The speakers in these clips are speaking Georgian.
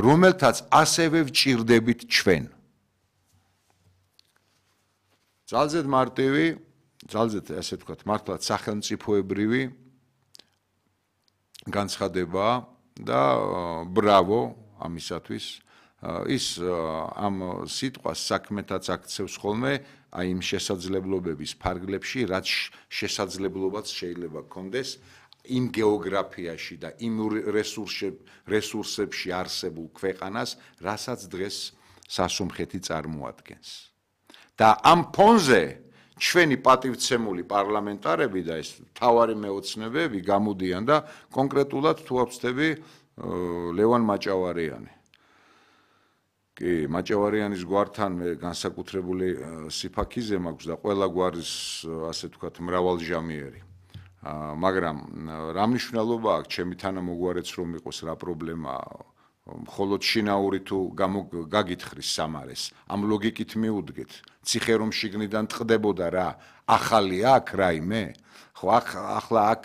რომელთაც ასევე ვჭირდებით ჩვენ. ძალზედ მარტივი, ძალზედ ასე ვთქვათ, მართლაც სახელმწიფოებრივი განცხადება და ბრავო ამისათვის. ის ამ სიტყვას საქმეთაც აქცევს ხოლმე აი იმ შესაძლებლობების ფარგლებში, რაც შესაძლებლობაც შეიძლება გქონდეს იმ გეოგრაფიაში და იმ რესურსებში არსებულ ქვეყანას, რასაც დღეს სასუმხეთი წარმოადგენს. და ამ ფონზე ჩვენი პატივცემული პარლამენტარები და ეს მთავარი მეოცნებები გამოდიან და კონკრეტულად თუ ავწდები ლევან მაჭავარიანი. კი, მაჭავარიანის გვართან მე განსაკუთრებული სიფაქიზე მაქვს და ყველა გვარის ასე ვთქვათ მრავალჟამიერი. მაგრამ რა მნიშვნელობა აქვს ჩემი თანამოგვარეც რომ იყოს რა პრობლემაა? მხოლოდ შინაური თუ გაგითხრის სამარეს, ამ ლოგიკით მიუდგეთ, ციხე რომ შიგნიდან ტყდებოდა რა, ახალი აქ რაიმე? ხო, ახლა აქ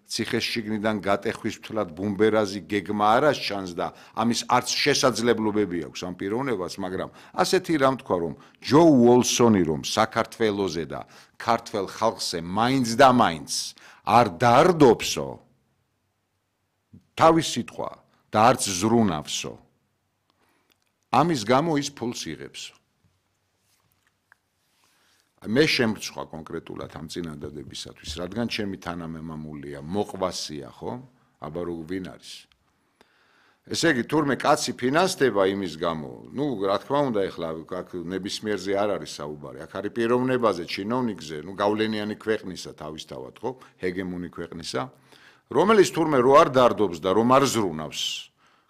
ციხეს შიგნიდან გატეხვის მთლად ბუმბერაზი გეგმა არა ჩანს და ამის არც შესაძლებლობები აქვს ამ პიროვნებას, მაგრამ ასეთი რამ თქვა რომ ჯო უოლსონი რომ საქართველოზე და ქართველ ხალხზე მაინც და მაინც არ დაარდობსო, თავის სიტყვა და არც ზრუნავსო. ამის გამო ის ფულს იღებსო. მე შემრჩხვა კონკრეტულად ამ წინადადებისათვის, რადგან ჩემი თანამემამულია მოყვასია, ხო? აბა რო ვინ არის? ესე იგი, თურმე კაცი ფინანსდება იმის გამო, ნუ რა თქმა უნდა, ეხლა აქ ნებისმიერზე არ არის საუბარი, აქ არის პიროვნებაზე, ჩინოვნიკზე, ნუ გავლენიანი ქვეყნისა თავისთავად, ხო? ჰეგემონი ქვეყნისა. რომელიც თურმე რო არ დარდობს და რომ არ ზრუნავს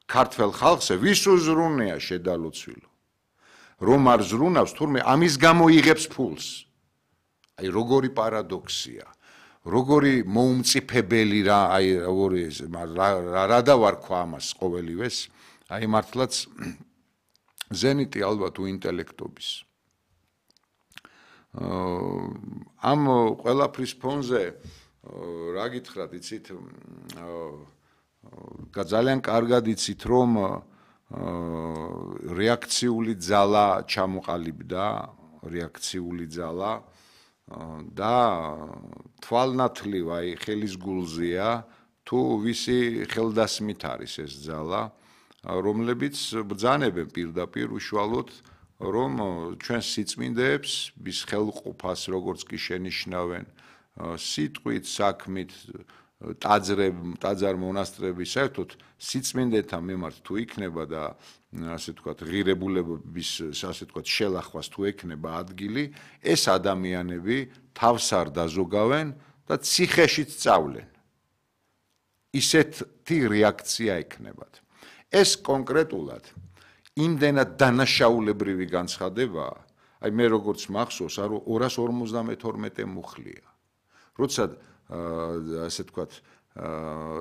ქართველ ხალხზე, ვის უზრუნია შედალოცვილო. რომ არ ზრუნავს, თურმე ამის გამო იღებს ფულს. აი როგორი პარადოქსია, როგორი მოუმწიფებელი რა, აი როგორი რა დავარქვა ამას ყოველივეს, აი მართლაც ზენიტი ალბათ უინტელექტობის. ამ ყველაფრის ფონზე რა გითხრათ, იცით, ძალიან კარგად იცით, რომ რეაქციული ძალა ჩამოყალიბდა, რეაქციული ძალა და თვალნათლივ აი ხელის გულზეა თუ ვისი ხელდასმით არის ეს ძალა, რომლებიც ბრძანებენ პირდაპირ უშუალოდ რომ ჩვენ სიწმინდეებს ვის ხელყოფას როგორც კი შენიშნავენ სიტყვით, საქმით, ტაძარ მონასტრები საერთოდ სიწმინდეთა მიმართ თუ იქნება და ასე ვთქვათ ღირებულებების ასე ვთქვათ შელახვას თუ ექნება ადგილი, ეს ადამიანები თავს არ დაზოგავენ და ციხეშიც წავლენ. ისეთი რეაქცია ექნებათ. ეს კონკრეტულად იმდენად დანაშაულებრივი განცხადებაა, აი მე როგორც მახსოვს, 252 მუხლია. როცა ასე ვთქვათ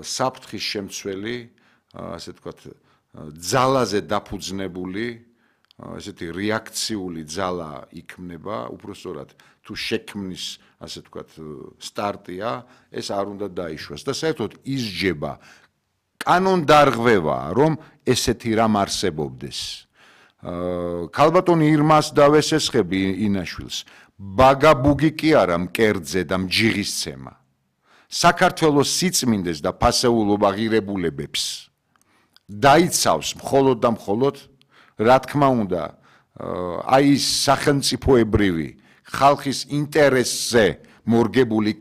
საფრთხის შემცველი, ასე ვთქვათ ძალაზე დაფუძნებული, ესეთი რეაქციული ძალა იქმნება, უпростоრად თუ შექმნის, ასე ვთქვათ, სტარტია, ეს არ უნდა დაიშვას და საერთოდ ისჯება კანონდარღვევაა, რომ ესეთი რამ არსებობდეს. ქალბატონი ირმას დავესესხები ინაშვილს, ბაგაბუგი კი არა მკერდზე და მჯიღისცემა. საქართველოს სიწმინდეს და ფასეულობა ღირებულებებს დაიცავს მხოლოდ და მხოლოდ, რა თქმა უნდა, აი ის სახელმწიფოებრივი ხალხის ინტერესზე მორგებული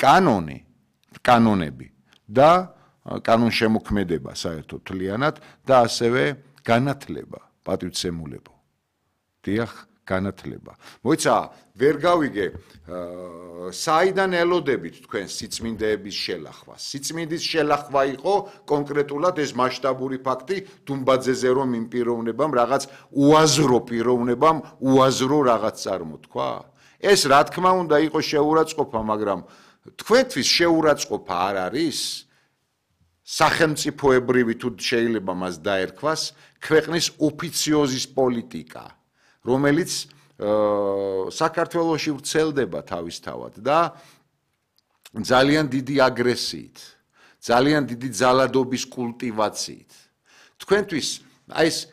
კანონები და კანონშემოქმედება საერთოდ თლიანად და ასევე განათლება, პატივცემულებო. დიახ, განათლება. მოიცა, ვერ გავიგე, საიდან ელოდებით თქვენ სიწმინდეების შელახვას? სიწმინდის შელახვა იყო კონკრეტულად ეს მასშტაბური ფაქტი დუმბაძეზე რომ იმ პიროვნებამ რაღაც უაზრო პიროვნებამ უაზრო რაღაც წარმოთქვა? ეს რა თქმა უნდა იყო შეურაცხყოფა, მაგრამ თქვენთვის შეურაცხყოფა არ არის? სახელმწიფოებრივი თუ შეიძლება მას დაერქვას ქვეყნის ოფიციოზის პოლიტიკა, რომელიც საქართველოში ვრცელდება თავისთავად და ძალიან დიდი აგრესიით, ძალიან დიდი ძალადობის კულტივაციით. თქვენთვის აი ეს